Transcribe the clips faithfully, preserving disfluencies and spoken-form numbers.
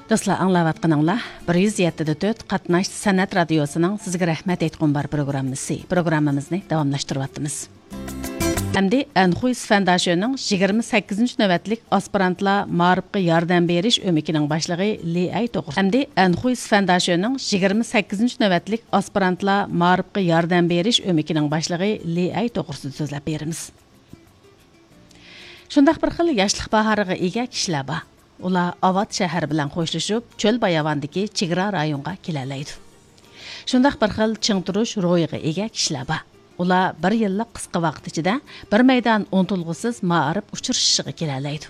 دوستلار، ئاڭلاۋاتقىنىڭلار بىر يۈز يەتتە دە تۆت قاتناش سەنئەت رادىيوسىنىڭ سىزگە رەھمەت ئېيتقۇم بار پروگراممىسى. پروگراممىمىزنى داۋاملاشتۇرۇۋاتىمىز. ئەمدى ئەنخۇي سفەنداشۆنىڭ يىگىرمە سەككىزىنچى نۆۋەتلىك ئاسپىرانتلار مائارىپقا ياردەم بېرىش ئۆمىكىنىڭ باشلىقى لى ئەي توغرىسىدا. ئەمدى ئەنخۇي سفەنداشۆنىڭ يىگىرمە سەككىزىنچى نۆۋەتلىك ئاسپىرانتلار مائارىپقا ياردەم بېرىش ئۆمىكىنىڭ باشلىقى لى ئەي توغرىسىدا سۆزلەپ بېرىمىز. شۇنداق بىر خىل ياشلىق باھارىغا ئىگە كىشىلەر بار. ئۇلار ئاۋات شەھەر بىلەن خوشلىشىپ، چۆل باياۋاندىكى چېگرا رايونغا كېلەلەيدۇ. شۇنداق بىر خىل چىڭ تۇرۇش روھىغا ئىگە كىشىلەر بار. ئۇلار بىر يىللىق قىسقا ۋاقىت ئىچىدە بىر مەيدان ئۇنتۇلغۇسىز مائارىپ ئۇچرىشىشىغا كېلەلەيدۇ.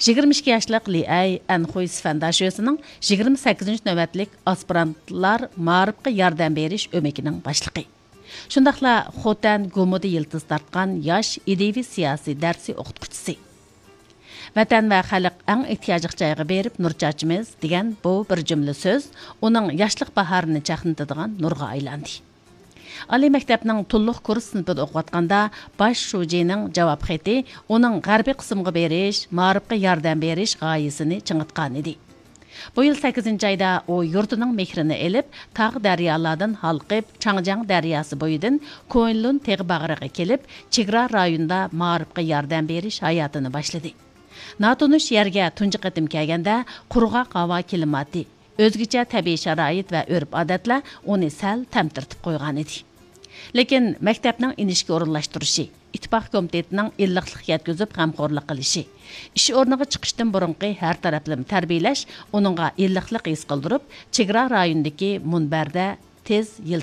يىگىرمە ئىككى ياشلىق لى ئەي ئەنخۇي سفەنداشۆسىنىڭ يىگىرمە سەككىزىنچى نۆۋەتلىك ئاسپىرانتلار مائارىپقا ياردەم بېرىش ئۆمىكىنىڭ باشلىقى. شۇنداقلا خوتەن گومىدا يىلتىز تارتقان ياش ئىدىيىۋى سىياسىي دەرسى ئوقۇتقۇچىسى. ۋەتەن ۋە خەلق ئەڭ ئېھتىياجلىق جايغا بېرىپ نۇر چاچىمىز دېگەن بۇ بىر جۈملە سۆز ئۇنىڭ ياشلىق باھارىنى چاقنىتىدىغان نۇرغا ئايلاندى. ئالىي مەكتەپنىڭ تولۇق كۇرس سىنىپىدا ئوقۇۋاتقاندا باش شۇجىنىڭ جاۋاب خېتى ئۇنىڭ غەربىي قىسىمغا بېرىش، مائارىپقا ياردەم بېرىش غايىسىنى چىڭىتقانىدى. بۇ يىل سەككىزىنچى ئايدا ئۇ يۇرتىنىڭ مېھرىنى ئېلىپ، تاغ دەريالاردىن ھالقىپ، چاڭجياڭ دەرياسى بويىدىن كۇنلۇن تېغى باغرىغا كېلىپ، چېگرا رايونىدا مائارىپقا ياردەم بېرىش ھاياتىنى باشلىدى. ناتونۇش يەرگە تۇنجى قېتىم كەلگەندە، قۇرغاق ھاۋا كىلىماتى، ئۆزگىچە تەبىئىي شارائىت ۋە ئۆرپ-ئادەتلەر ئۇنى سەل تەمتىرىتىپ قويغانىدى. لېكىن مەكتەپنىڭ ئىنىشكە ئورۇنلاشتۇرۇشى، ئىتتىپاق كومىتېتىنىڭ ئىللىقلىق يەتكۈزۈپ غەمخورلۇق قىلىشى، ئىش ئورنىغا چىقىشتىن بۇرۇنقى ھەر تەرەپلىمە تەربىيىلەش ئۇنىڭغا ئىللىقلىق ھېس قىلدۇرۇپ، چېگرا رايونىدىكى مۇنبەردە تېز